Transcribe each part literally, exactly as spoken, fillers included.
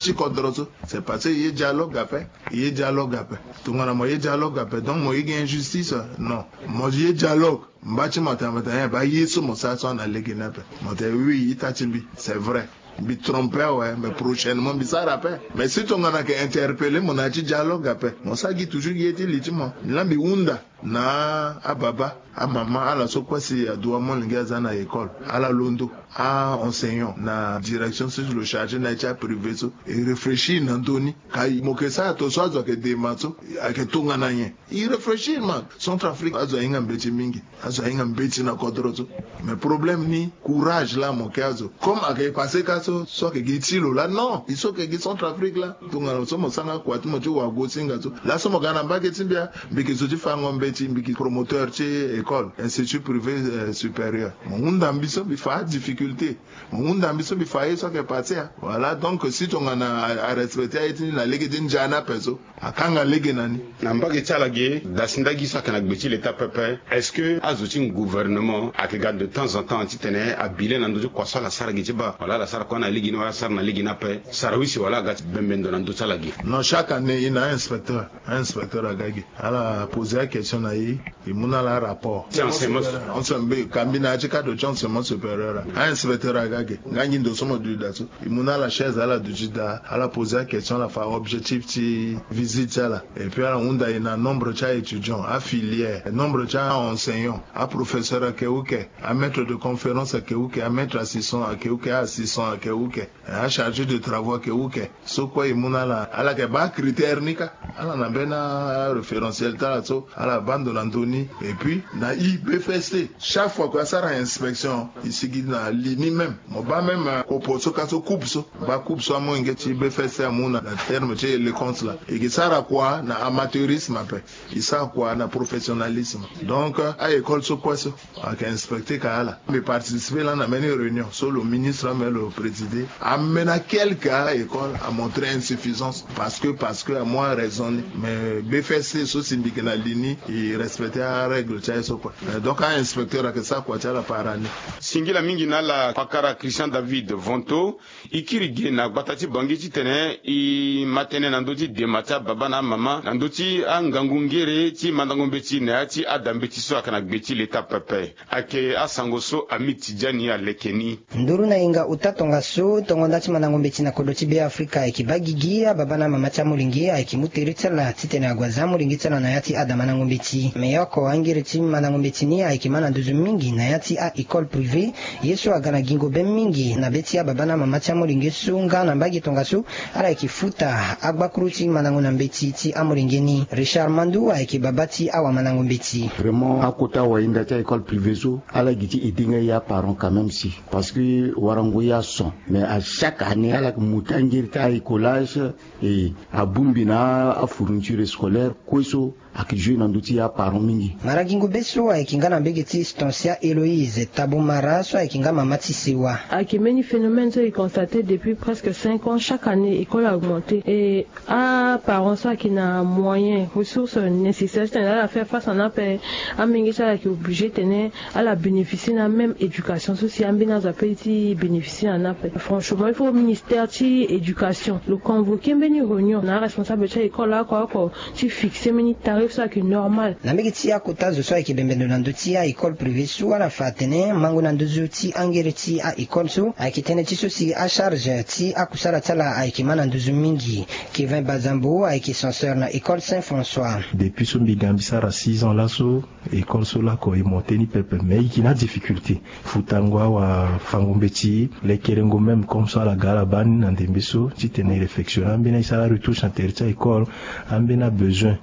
ti kodro so. C'est parce que ye dialogue ape. Ye dialogue ape. Tongana mo ye dialogue ape, donc mo ye gi injustice? Non. Mo ye dialogue, mba ti mo atambata nyen? Ba ye so mo sara so ana lege ni ape. Mo te oui, ita ti mbi, c'est vrai, mbi trompe awe, mais prochainement mbi sara ape. Mais si tongana ke interpeller mo na ya ti dialogue ape, mo sara gi toujours ye ti li ti mo. Ni la mbi hunda na ababa, amama, ala so kue si adoit amolenge aza na école, ala londo, a enseignant na direction so lo charger na ye ti aprivé so, e réfléchir na ndö ni. Ka mo ke sara to so azo ayeke dema so, ayeke tongana nyen? E réfléchir ma. Centrafrique azo ahinga mbeti mingi. Azo ahinga mbeti na kodro so. Mais problème ni, courage la mo ke azo. Comme ayeke passé ka so, so ayeke gi ti lo la, non. E so ayeke gi Centrafrique la. Tongana so mo sanga kua ti mo ti wago singa so, laso mo ga na mbage ti mbi, mbi yeke zo ti fango mbeti, mbi yeke promoteur ti école, institut privé, euh, supérieur. Mo hunda mbi so mbi fa adifficulté. Mo hunda mbi so mbi fa ye so ayeke passé a. Voilà, donc si tongana a, arespecter aye ti ni na lege ti ndia ni ape so, akanga lege na ni. Na mbage ti ala ge, da si ndagi so ayeke na gbe ti leta pepe, est-ce que azo ti gouvernement ayeke ga de temps en temps titene abile na ndö ti kua so ala sara ge ti baa, wala ala sara kue na lege ni, wala asara na lege ni ape? Sara use wala aga ti bembe ndo na ndö ti ala ge? Non, chaque année e na inspecteur. Inspecteur aga ge. Ala poser aquestion na e, e mu na ala rapport. Ti enseignement. Enseignement, ka mbi na ya ti cadre ti enseignement supérieur. Ainspecteur aga ge. Nga ngi ndo so mo duti daa so, e mu na ala chaise, ala duti daa, ala poser aquestion, ala fa objectif ti visite ti ala. Et puis ala hunda e na nombre ti aétudiant, afilière, nombre ti aenseignant, aprofesseur ayeke uke, amaître de conférence ayeke uke, amaître assistant ayeke uke, aassistant ayeke uke, achargé de travaux ayeke uke. So kue e mu na ala, ala yeke baa critère ni kâ. Ala na mbeni aréférentiel ti ala so ala baa ndo na ndö ni. Et puis na e B F S T, chaque fois kue asara inspection, e sigi na li ni même. Mo baa même, euh, kopo so kâ so, coupe so, baa coupe so amolenge ti B F S T amu na, na terme ti éloquence la. E yeke sara kua na amateurisme ape, e sara kua na professionnalisme. Donc, euh, a-école so kue so ayeke inspecter ka ala. Mbi participer lani na mbeni réunion so lo ministre ambeni lo présider. Ambeni akelke a-école amontre insuffisance parce que, parce que amu araison ni. Mais B F S T so si mbi yeke na li ni, e respecter arègle ti aye so kue. Euh, donc a-inspecteur ayeke sara kua ti ala par année. Singila mingi na ala pakara Christian David Vonto. E kiri ge na gbata ti Bangui titene e ma tënë na ndö ti dema ti ababa na amama na ndö ti angangu ngere ti mandango mbeti na ya ti ada mbeti so ayeke na gbe ti leta pepe. Ayeke asango so Amid Tidjani aleke ni. Nduru na yenga ota tongaso, tongo nda ti mandango mbeti na kodro ti Beafrika ayeke baa gigi, ababa na amama ti amolenge ayeke mu tere ti ala titene ague aza amolenge ti ala na ya ti ada mandango mbeti. Me oko angere ti mandango mbeti ni ayeke ma na nduzu mingi na ya ti a-école privée. Ye so aga na gingo be mingi na be ti ababa na amama ti amolenge so nga na mbage tongaso, ala yeke futa agbakuru ti mandango na mbeti ti amolenge ni. Richard Mandu ayeke baba ti awamandango mbeti. Vraiment, akota wahinda ti a-école privée so, ala gi ti aider nga e aparent quand même si. Parce que warango e ason. Mais à chaque année, ala yeke mu ti angere ti a-écolage, e abongbi na afourniture scolaire kue so ayeke jouer na ndö ti aparent mingi. Mara gingo be so ayeke nga na mbage ti Stancia Héloïse Tabo Mara so ayeke nga mama ti sewa. Ayeke mbeni phénomène so e constate depuis presque cinq ans. Chaque année, école a augmenté. Et aparent so ayeke na moyen, ressource nécessaire titene ala faire face na ni ape, amenge ti ala ayeke obligé titene ala bénéficier na même éducation so si ambeni azo apeut ti bénéficier na ni ape. Franchement, il faut ministère ti éducation lo convoquer mbeni réunion na aresponsable ti a-école oko oko ti fixer mbeni tarif so ayeke normal. Na mbage ti akota zo so ayeke bembe ndo na ndö ti a-école privée so, ala fa atene mango na nduzu ti angere ti a-école so ayeke tënë ti so si acharge ti akusala ti ala ayeke ma na nduzu mingi. Kevin Bazambo ayeke censeur na école Saint François. Depuis so mbi ga mbi sara six ans laso, école so lakue e monter ni pepe, mais e yeke na adifficulté. Futango awafango mbeti, lekerengo même comme so ala ga ala baa ni na ndembe so titene e réfectionner ambeni aye ti ala retouche na tere ti a-école, ambeni abesoin,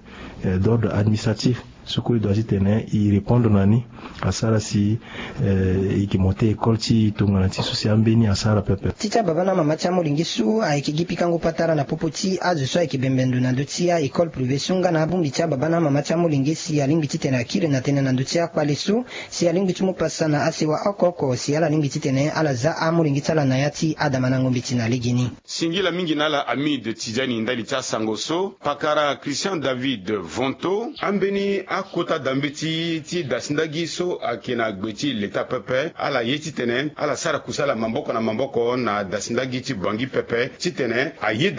euh, d'ordre administratif so kue e doit titene e répondre na ni, asara si, euh, e yeke monter école ti e tongana ti so si ambeni asara pepe. Ti ti ababa na amama ti amolenge so ayeke gi pikango patara na popo ti azo so ayeke bembe ndo na ndö ti a-école privée so nga na abongbi ti ababa na amama ti amolenge si alingbi titene akiri na tënë na ndö ti akpale so, si alingbi ti mu pasa na asewa oko oko si ala lingbi titene ala za amolenge ti ala na ya ti adamandango mbeti na legeni. Singila mingi na ala Amid Tidjani ndali ti asango so, pakara Christian David Vonto, ambeni akota dambeti ti dasi ndagi so ayeke na gbe ti leta pepe ala ye titene ala sara kusala maboko na maboko na dasi ndagi ti bangi pepe titene aye